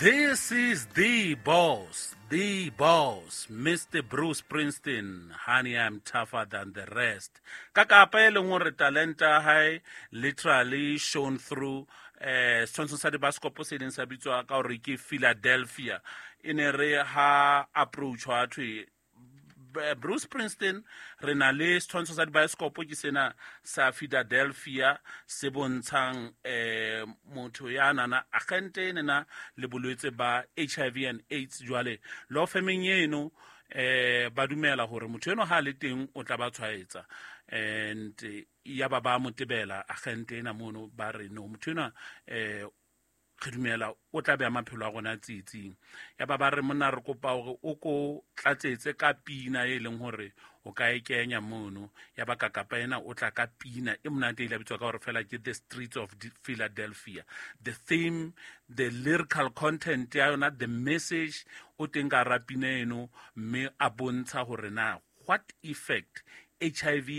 This is the boss, Mr. Bruce Springsteen. Honey, I'm tougher than the rest. Ka kapa e leng hore talenta ya hae literally shown through setshwantsho sa dibaskopo se leng sa bitswa ka hore ke Philadelphia. E ne re ha approach ha thwe Bruce Springsteen, re na le setshwantsho sa dibaesekopo ke sena sa Philadelphia se bontshang motho ya nana agente e nena le bolwetse ba HIV and AIDS. Jwale law firmeng eno ba dumela hore motho eno ha le teng o tla ba tshwaetsa, and ya ba ba motebela agente ena mono, ba re no, motho ena re dumela o tla beha maphelo a rona tsietsing. Ya ba ba re, monna, re kopa hore o ko tlatsetse ka pina e leng hore o ka e kenya mono. Ya ba kakapa ena o tla ka pina e monate, ile bitswa ka hore fela ke The Streets of Philadelphia. The theme, the lyrical content ya yona, the message o teng ka hara pina eno, mme a bontsha hore na what effect HIV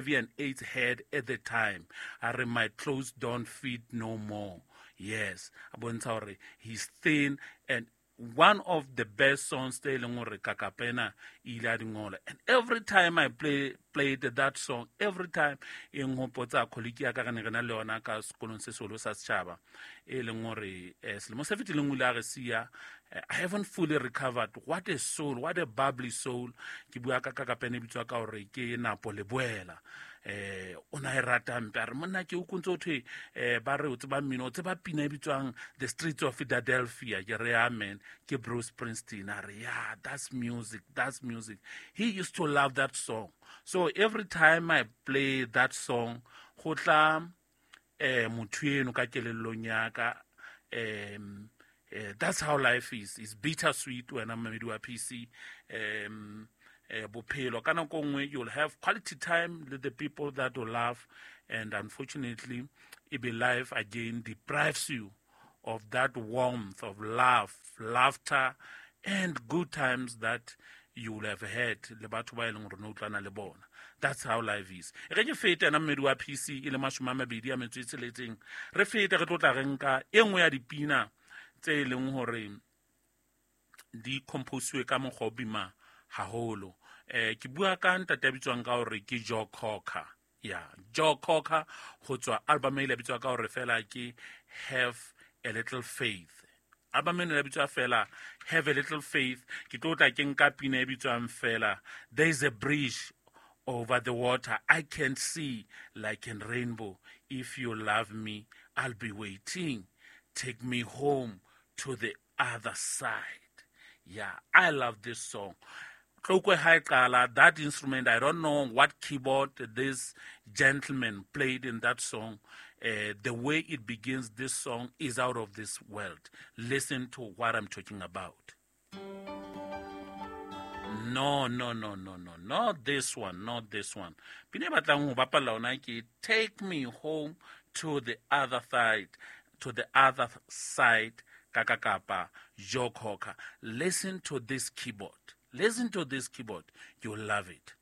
and AIDS had at the time. A re, "My clothes don't fit no more." Yes, a bontsha hore he's thin, and one of the best songs tse e leng hore kakapena ile a di ngola. And every time I played that song, every time e nghopotsa colleague ya ka re ne re na le yona ka sekolong se seholo sa setjhaba, e leng hore selemo se fetileng o ile a re siya. I haven't fully recovered. What a soul, what a bubbly soul. Ke bua ka kakapena e bitswa ka hore ke Napo Leboela. O na e rata mpe, a re, monna, ke o kontse o thwe ba re o tseba mmino, o tseba pina e bitswang The Streets of Philadelphia. Ke re, amen, ke Bruce Springsteen. A re, yeah, that's music, that's music. He used to love that song. So every time I play that song, go tla motho eno ka kelellong ya ka. That's how life is. It's bittersweet wena mmamedi wa PC. Bophelo ka nako nngwe you'll have quality time with the people that you love, and unfortunately e be life again deprives you of that warmth of love, laughter and good times that you will have had le batho ba e leng gore ne utlwana le bona. That's how life is. E re ke fete ena mmedi wa PC e le 26, re fete re tlo tla re nka e nngwe ya dipina tse e leng hore di composiwe ka mokgwa o bima haholo. Ke bua ka ntate ya bitswang ka hore ke Joe Cocker. Ya Joe Cocker, go tswa album e ile bitswa ka hore fela ke Have a Little Faith. Album eno ya bitswa fela Have a Little Faith. Ke tlo tla ke nka pina e bitswang fela There Is a Bridge Over the Water I Can See Like a Rainbow. If you love me, I'll be waiting. Take me home to the other side. Yeah, I love this song. Tlokwe ha e qala, that instrument, I don't know what keyboard this gentleman played in that song. The way it begins, this song is out of this world. Listen to what I'm talking about. No, no, no, no, no, not this one, not this one. Pina e batlang ho bapalla ona ke Take Me Home to the Other Side, to the Other Side, kaka Joe Cocker. Listen to this keyboard. Listen to this keyboard. You'll love it.